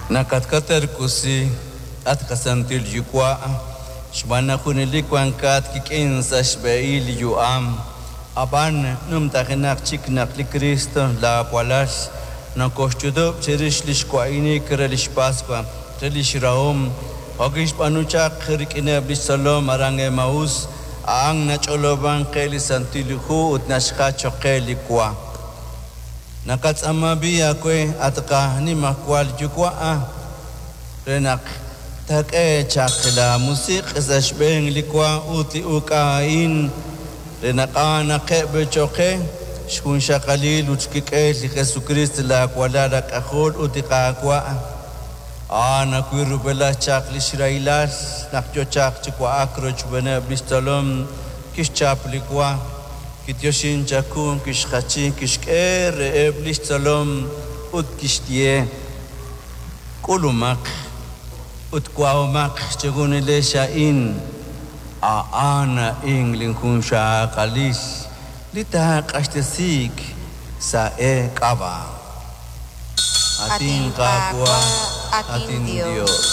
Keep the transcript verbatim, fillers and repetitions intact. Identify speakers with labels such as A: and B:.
A: Nakatkaterkusi, at qasantil Yuwa', xb'aan naq junelik wankat kik'in sa' xb'ehil li yu'am. Ab'an numtajenaq chik naq li Kristo laawalal nokoxch'utub' chirix li xwa'inik re lix Paswa, re lix rahom, jo' kixb'aanu chaq rik'ineb' lix tzolom aran Emaús, a'an nach'olob'ank qe li Santil Hu ut naxjach choq' qe li wa. Naqatz'aama b'i' aawe, at qanimajwal Yuwa', re naq taak'e chaq laamusiq' sa' xb'een li wa ut li uk'a a'in re naq a'anaqeb' cho'q qe xjunxaqalil ut xkik'el li Jesucristo laawalal aak'ajol ut li Qaawa'. A'an ajwi' rub'elaj chaq li xrahilal naq yo chaq chi wa'ak rochb'eeneb' li xtzolom kixchap li wa, kityoxin chaku, kixjachi, kixk'e reheb' li xtzolom ut kixye: K'ulumaq ut wa'omaq chejunilex a'in, a'an a'in linjunxaqalil li taaq'axtesiik sa' eek'ab'a'. At in Qaawa', at in Dios.